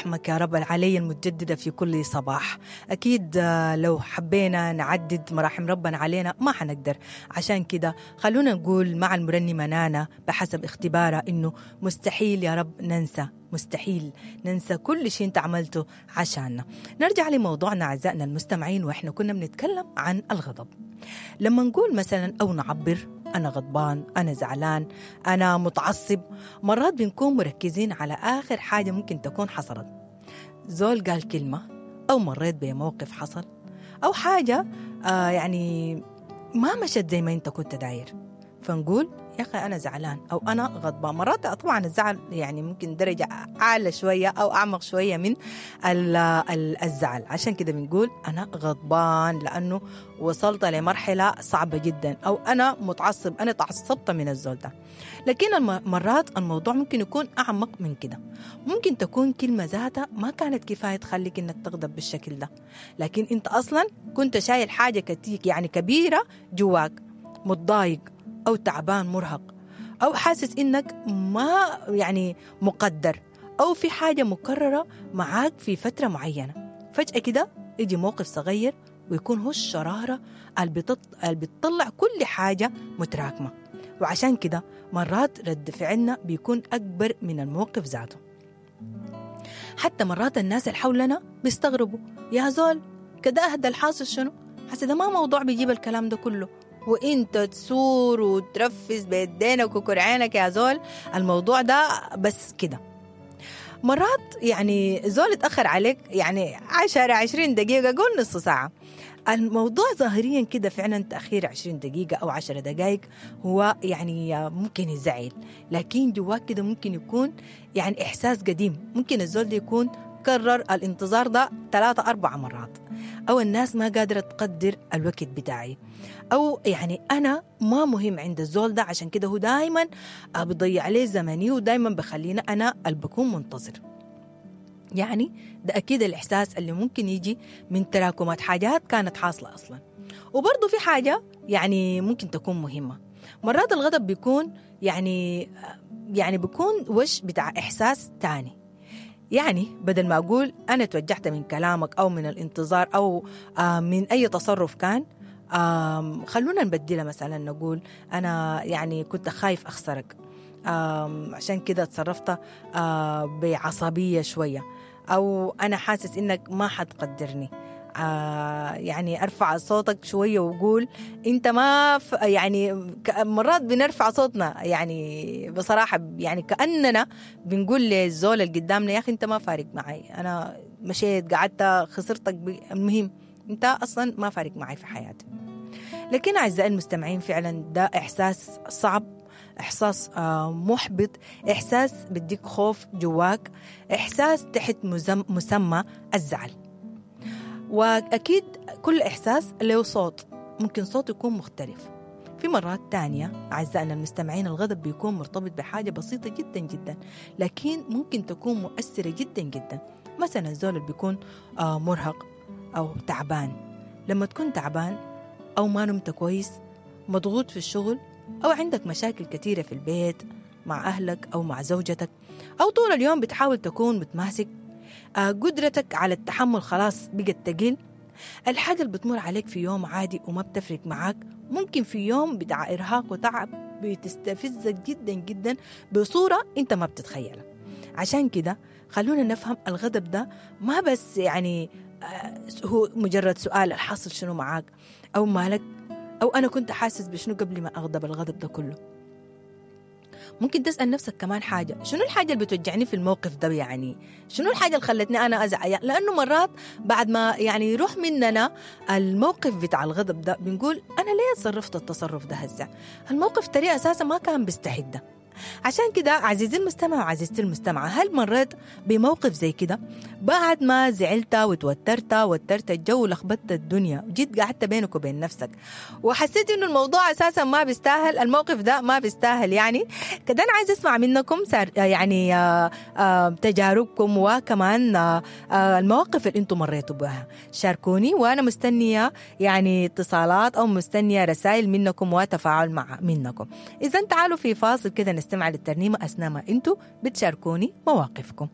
مراحمك يا رب العلي المتجددة في كل صباح. أكيد لو حبينا نعدد مراحم ربنا علينا ما حنقدر، عشان كده خلونا نقول مع المرنمة نانا بحسب اختبارها إنه مستحيل يا رب ننسى، مستحيل ننسى كل شيء انت عملته عشاننا. نرجع لموضوعنا أعزائنا المستمعين، وإحنا كنا بنتكلم عن الغضب. لما نقول مثلا أو نعبر أنا غضبان، أنا زعلان، أنا متعصب، مرات بنكون مركزين على آخر حاجة ممكن تكون حصلت، زول قال كلمة أو مريت بموقف حصل أو حاجة يعني ما مشت زي ما أنت كنت داير، فنقول يا أخي أنا زعلان أو أنا غضبان. مرات طبعا الزعل يعني ممكن درجة أعلى شوية أو أعمق شوية من الزعل، عشان كده بنقول أنا غضبان لأنه وصلت لمرحلة صعبة جدا، أو أنا متعصب، أنا تعصبت من الزول ده. لكن مرات الموضوع ممكن يكون أعمق من كده، ممكن تكون كلمة ذاتها ما كانت كفاية تخليك إنك تغضب بالشكل ده، لكن أنت أصلا كنت شايل حاجة كتير يعني كبيرة جواك، متضايق أو تعبان مرهق، أو حاسس إنك ما يعني مقدر، أو في حاجة مكررة معاك في فترة معينة. فجأة كده يجي موقف صغير ويكون هو الشرارة اللي بتطلع كل حاجة متراكمة، وعشان كده مرات رد فعلنا بيكون أكبر من الموقف ذاته. حتى مرات الناس اللي حولنا بيستغربوا، يا زول كده أهدى، الحاصل شنو؟ حسي ده ما موضوع بيجيب الكلام ده كله، وانت تسور وترفس بيدينك وكرعينك يا زول، الموضوع ده بس كده. مرات يعني زول اتأخر عليك يعني 10-20 دقيقة، قول نص ساعة، الموضوع ظاهريا كده فعلا تأخير 20 دقيقة أو 10 دقائق هو يعني ممكن يزعل، لكن جواك كده ممكن يكون يعني إحساس قديم، ممكن الزول ده يكون كرر الانتظار ده 3-4 مرات، أو الناس ما قادرة تقدر الوقت بتاعي، أو يعني أنا ما مهم عند الزول ده، عشان كده هو دايما بضيع عليه زمني ودايما بخلينا أنا اللي بكون منتظر. يعني ده أكيد الإحساس اللي ممكن يجي من تراكمات حاجات كانت حاصلة أصلا. وبرضو في حاجة يعني ممكن تكون مهمة، مرات الغضب بيكون يعني بيكون وش بتاع إحساس تاني. يعني بدل ما أقول أنا توجعت من كلامك أو من الانتظار أو من أي تصرف كان، خلونا نبدلها، مثلا نقول أنا يعني كنت خايف أخسرك، عشان كده تصرفت بعصبية شوية، أو أنا حاسس إنك ما حتقدرني، يعني أرفع صوتك شوية وقول أنت ما يعني مرات بنرفع صوتنا يعني بصراحة، يعني كأننا بنقول للزول اللي قدامنا يا أخي أنت ما فارق معي، أنا مشيت قعدت خسرتك، المهم أنت أصلا ما فارق معي في حياتي. لكن أعزائي المستمعين فعلا ده إحساس صعب، إحساس محبط، إحساس بديك خوف جواك، إحساس تحت مسمى الزعل. وأكيد كل إحساس له صوت، ممكن صوت يكون مختلف. في مرات تانية أعزائنا المستمعين الغضب بيكون مرتبط بحاجة بسيطة جدا جدا، لكن ممكن تكون مؤثرة جدا جدا. مثلا الزول اللي بيكون مرهق أو تعبان، لما تكون تعبان أو ما نمت كويس، مضغوط في الشغل، أو عندك مشاكل كثيرة في البيت مع أهلك أو مع زوجتك، أو طول اليوم بتحاول تكون متماسك، قدرتك على التحمل خلاص بقت تقل. الحاجة اللي بتمر عليك في يوم عادي وما بتفرق معاك، ممكن في يوم بتاع إرهاق وتعب بتستفزك جدا جدا بصورة أنت ما بتتخيلها. عشان كده خلونا نفهم الغضب ده ما بس يعني هو مجرد سؤال الحاصل شنو معاك أو مالك أو أنا كنت حاسس بشنو قبل ما أغضب الغضب ده كله. ممكن تسأل نفسك كمان حاجة، شنو الحاجة اللي بتوجعني في الموقف ده؟ يعني شنو الحاجة اللي خلتني أنا أزعل؟ لأنه مرات بعد ما يعني يروح مننا الموقف بتاع الغضب ده بنقول أنا ليه تصرفت التصرف ده هسه؟ الموقف تري أساسا ما كان بيستحق ده. عشان كده عزيزي المستمع وعزيزتي المستمعة، هل مريت بموقف زي كده بعد ما زعلت وتوترت وترت الجو ولخبطت الدنيا، وجيت قعدت بينك وبين نفسك وحسيت انه الموضوع اساسا ما بيستاهل، الموقف ده ما بيستاهل؟ يعني كده انا عايز اسمع منكم يعني تجاربكم وكمان المواقف اللي انتم مريتوا بها، شاركوني وانا مستنيه يعني اتصالات او مستنيه رسائل منكم وتفاعل مع منكم. اذا تعالوا في فاصل كده نستمع للترنيمة أثناء ما أنتوا بتشاركوني مواقفكم.